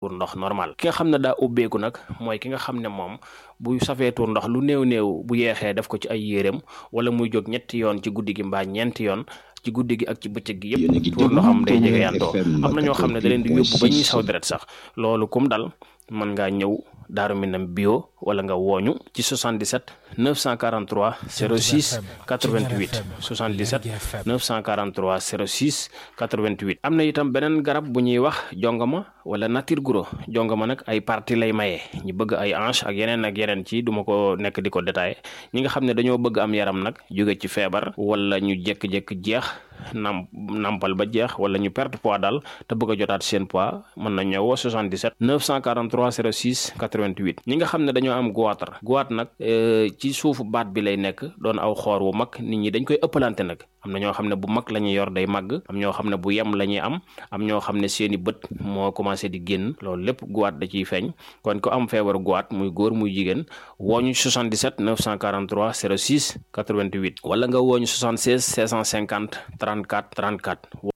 tuur ndox normal. Ki nga xam ne daa ubbeeku nag mooy ki nga xam ne moom bu safee tuur ndox lu néew bu yeexee def ko ci ay yéreem wala muy jóg ñetti yoon ci guddi gi mbaa ñeenti yoon ci guddi gi ak ci bëccëg gi yëpp tuur ndoxam day jege yantoo. am na ñoo xam ne da leen di yóbbu ba ñuy saw deret sax. loolu kum dal mën ngaa ñëw Daaru Minam bio wala nga wooñu ci 77 943 06 88 77 943 06 88. am na itam beneen garab bu ñuy wax jongama wala nature guro. jongama nag ay partie lay maye ñi bëgg ay hanche ak yeneen ci duma ko nekk di ko détaillé. ñi nga xam ne dañoo bëgg am yaram nag jóge ci feebar wala ñu jékki-jékki jeex nampal ba jeex wala ñu perte poids daal te bëgg a jotaat seen poids mën na ñëw 77 943 06 88. ñi nga xam ne dañoo am goitre nag ci suufu baat bi lay nekk doon aw xoor wu mag nit ñi dañ koy ëppalante nag. am na ñoo xam ne bu mag la ñuy yor day màgg am ñoo xam ne bu yem la ñuy am ñoo xam ne seeni bët moo commencé di génn loolu lépp goitre da ciy feeñ. kon ko am feebaru goitre muy góor muy jigéen wooñu 77 943 06 88 wala nga wooñu 76 650 34 34